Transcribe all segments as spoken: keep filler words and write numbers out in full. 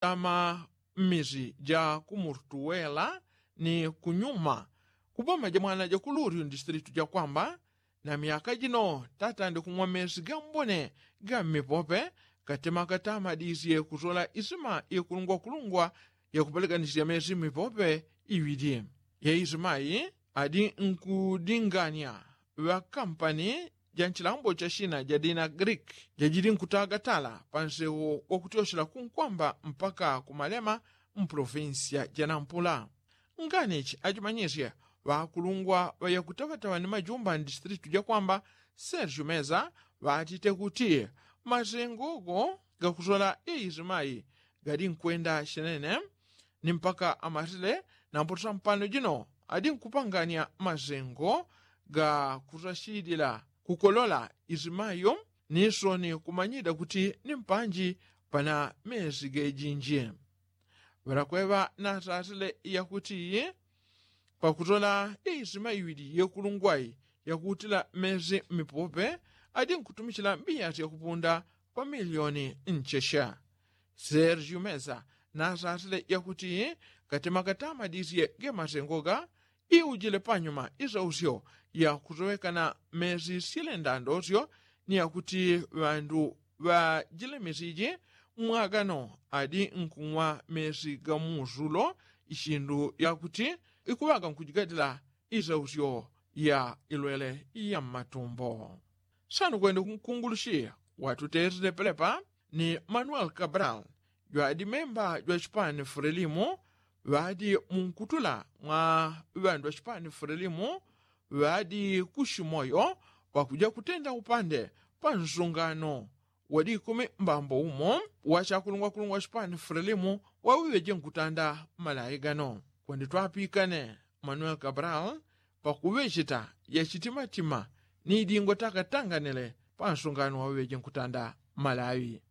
tama mmisi ja kumurtuwela ni kunyuma kuboma ja mwana ja kuluri mdistritu ja kwamba na myaka jino tatandi kumwa mesi ga mbone ga mmipope katema katamadisye kusola isima ikulungwakulungwa yakupeleganisya mesi mmipope iwili. Ye isima iyi adi nkudinganya ŵakampani ja nchilambo cha shina ja dina greek jajili nkutagatala pa nsewo wakutyoshela kunkwamba mpaka kumalema mpolofinsiya ja nampula. Nganichi ajimanyisye ŵakulungwa ŵayakutaŵataŵa ni majumba mdistritu ja kwamba sergio meza ŵatite kuti masengo go gakusola ye isima iyi gali nkwenda shenene ni mpaka amasile na mpoto sampano jino adi nkupanganya masengo ga kusashilila kukolola isima iyo ni soni kumanyida kuti ni mpanji pana mesi gejinji. Ŵalakweŵa nasasile yakuti pakutola ye isima iwili yekulungwai yakuutila mesi mmipope adi nkutumichila mbiyasi yakupunda pa milioni nchesha. Sergio mesa nasasile yakuti katema katamadisye ge masengo ga iujile panyuma isausyo yakusowekana mesi syelendandosyo ni yakuti ŵandu ŵa jile misi ji mwagano adi nkung'wa mesi ga muusulo ishindu yakuti ikuŵaga nkujigadila isausyo ya ilwele ya mmatumbo. Sanu kwende kunkungulushi watutesile pelepa ni manuel cabral jwadi memba jwa chipani frelimu ŵadi munkutula mwa ŵandu ŵa chipani frelimu ŵadi kushimoyo pakuja kutenda upande pa nsungano wadi ikumi mbambo umo wa chakulungwakulungwa chipani frelimu waŵeŵeje nkutanda malayi gano kwende twapikane manuel cabral pakuŵecheta yachitimatima ni idingo takatanganile pa nsungano waŵeŵeje nkutanda malawi.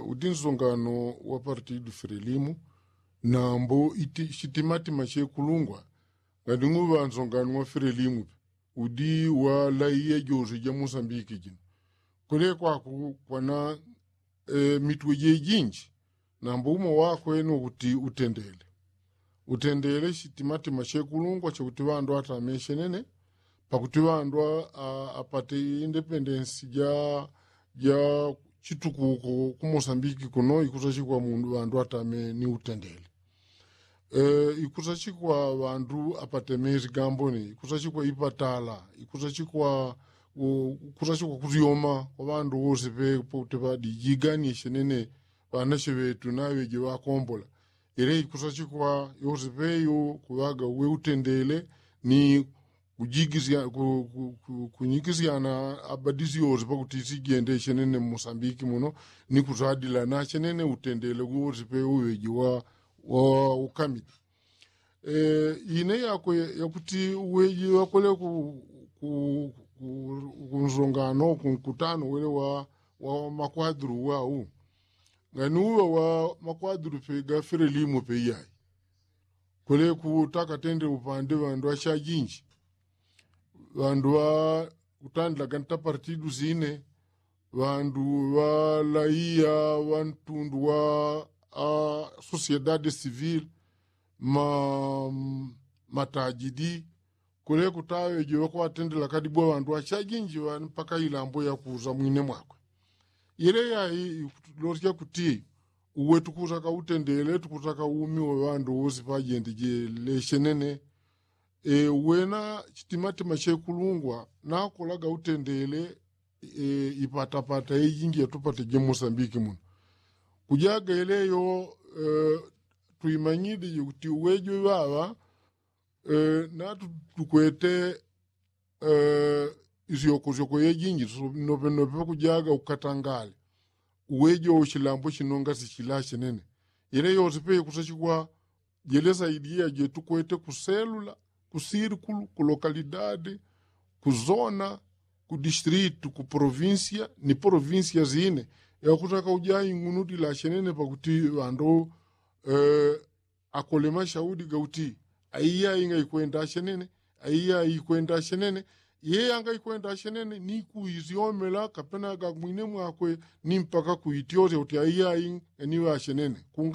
Udi nsungano wa partidu frelimu nambo chitimatima chekulungwa ngading'uŵa nsungano wa frelimu pe udi walaiya jose ja musambiki jino kule kwaku kwana mitwe jejinji nambo umo wakwe ni kuti utendele utendele chitimatima chekulungwa chakuti ŵandu atame chenene pakuti ŵandu apate independensi ja ja chitukuko ku mosambiki kuno ikusachikwa mundu ŵandu atame ni utendele. Ikusachikwa ŵandu apate mezi gambone ikusachikwa ipatala ikusachikwa kusyoma kwa ŵandu wose pe pakuti ŵadi jiganie chenene ŵanache ŵetu naŵeje ŵakombola. Ile ikusachikwa yose peyo kuŵaga uwe utendele ni kujigisyana kunyigisyana abadisi yose pakuti sijende chenene mmosambiki muno ni kusadila na chenene utendele wose peyo uŵeje wa ukamili. Ine yakwe yakuti uweji wakole ku ku ku kunsongano kunkutano wele wa wa makwadru wau ngani uŵa wa makwadru pe gafile limu pe iyai. Kole kutaka tende upande ŵandu ŵashajinji ŵandu ŵa kutandila ganta partidu sine ŵandu ŵa laiya ŵa ntundu wa a sosiedade sivile ma matajidi. Kule kutaŵe jiŵe kwatendela kadibwa ŵandu ŵachajinji ŵani mpaka ilambo yakuza mwine mwakwe. Ile yai losya kuti uwe tukusaka utendele tukusaka umi wa ŵandu wosi pajende jele chenene. Uwena chitimatima chekulungwa nakolaga utendele ipatapata yejinji yatupate jemosambiki muno. Kujaga ileyo tuimanyidi jikuti uwejo iŵaŵa natutukwete isyokosyoko yejinji nosopenope pakujaga ukatangale uwejo uchilambo chinonga sichila chenene. Ile yose pe ikusachikwa jele saidiya jetukwete kuselula kusirikulu kulokalidade kuzona kudistritu kupolovinsiya ni polovinsiya sine. Yakutaka uja ing'unudila chenene pakuti ŵandu akole mashaudi gauti aiya inga ikwenda chenene aiya ikwenda chenene. Yeye anga ikwenda ashenene ni kuisyomela kapena gagumwine mwakwe ni mpaka kuityosya kuti aiyai eniwe ashenene kunga